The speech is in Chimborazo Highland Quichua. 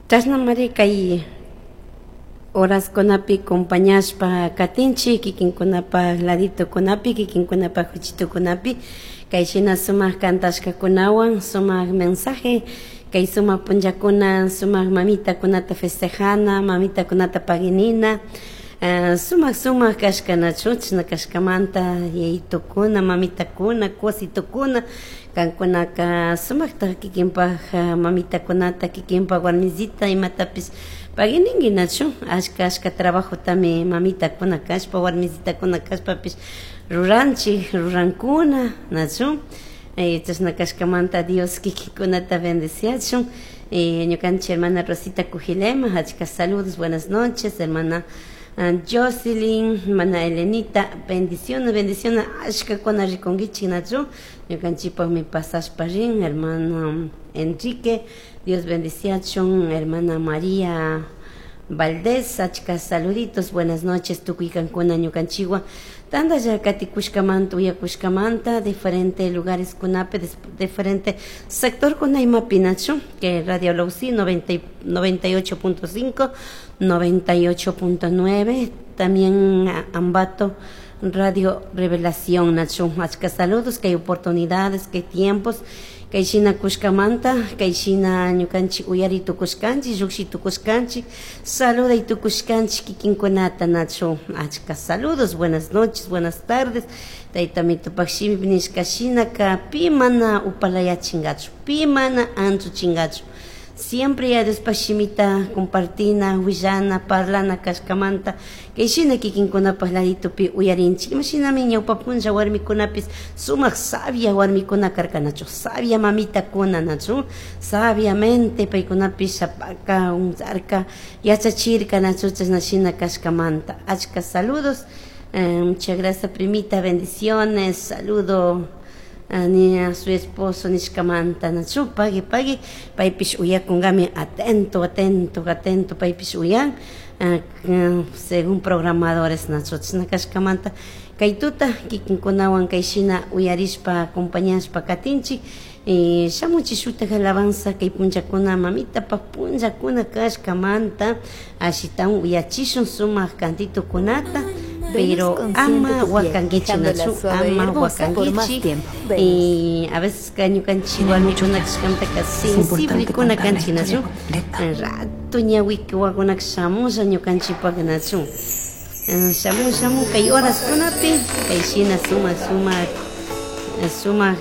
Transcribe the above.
Chashnamari kay horaskunapi compañashpa katinchik kikinkunapak laditokunapi, kikinkunapak huchitukunapi, kay shina sumak kantashkakunawan, sumak mensaje, kay sumak punllakuna, sumak mamitakunata festejana, mamitakunata paginina, sumak sumak kashkanachu, chashna kashkamanta yayitukuna, mamitakuna, kusitukuna, kankunaka sumakta kikinpak mamitakunata, kikinpak warmisita imatapish pagininki nachu, ashka ashka trabajotami mamitakuna kashpa, warmisitakuna kashpapish ruranchik, rurankuna, nachu, chashna kashkamanta Dios kikinkunata bendeciachun. Ñukanchik hermana Rosita Cujilema, achka saludos, buenas noches, hermana Jocelyn, hermana Elenita, bendiciones, bendiciones, ashkakuna rikunkichik nachu, ñukanchikpakmi pasashpa rin, hermano Enrique, Dios bendiciachun, hermana María Valdés, achka saluditos, buenas noches, tukuy kankuna ñukanchikwan, tantalla katikushkamanta, uyakushkamanta, diferente lugares kunapi, diferente sector kuna imapi nachu, que Radio Lausi 98.5, 98.9, también Ambato Radio Revelación nachu, achka saludos, que hay oportunidades, que hay tiempos, kay shina kushkamanta, kay shina ñukanchik uyari tukushkanchik, llukshi tukushkanchik, saluday tukushkanchik kikinkunata nachu, achka saludos, buenas noches, buenas tardes, tayta mitupak shimipi nishka shinaka pi mana upalayachinkachu, pi mana anchuchinkachu, siempre ya Diospak shimita compartina, willana, parlana kashkamanta, kay shina kikinkunapak laditupi uyarinchik, imashinami ñawpa punlla warmikunapis sumak sabia warmikuna karkanachu, sabia mamitakuna nachu, sabiamente paykunapish shapaka, unzarka, yachachirka nachu, chashna shina kashkamanta, achka saludos, muchas gracias primita, bendiciones, saludo ni a su esposo nishkamanta nachu, pagui pagui, paypish uyakunkami atento, atento, atento, paypish uyan, según programadores nachu, chashna kashkamanta, kay tuta kikinkunawan kay shina uyarishpa acompañashpa katinchik, shamuchik shutak alabanza kay punllakuna mamitapak punllakuna kashkamanta, ashitawan uyachishun sumak cantitukunata, pero ama wakankichik nachu, ama wakankichik, y a veces ka ñukanchik warmikuna kashkamantaka sensiblekuna kanchik nachu, rato ñawiki wawakunaka shamusha ñukanchikpak nachu, shamun shamun kay horaskunapi kay shina sumak sumak sumak.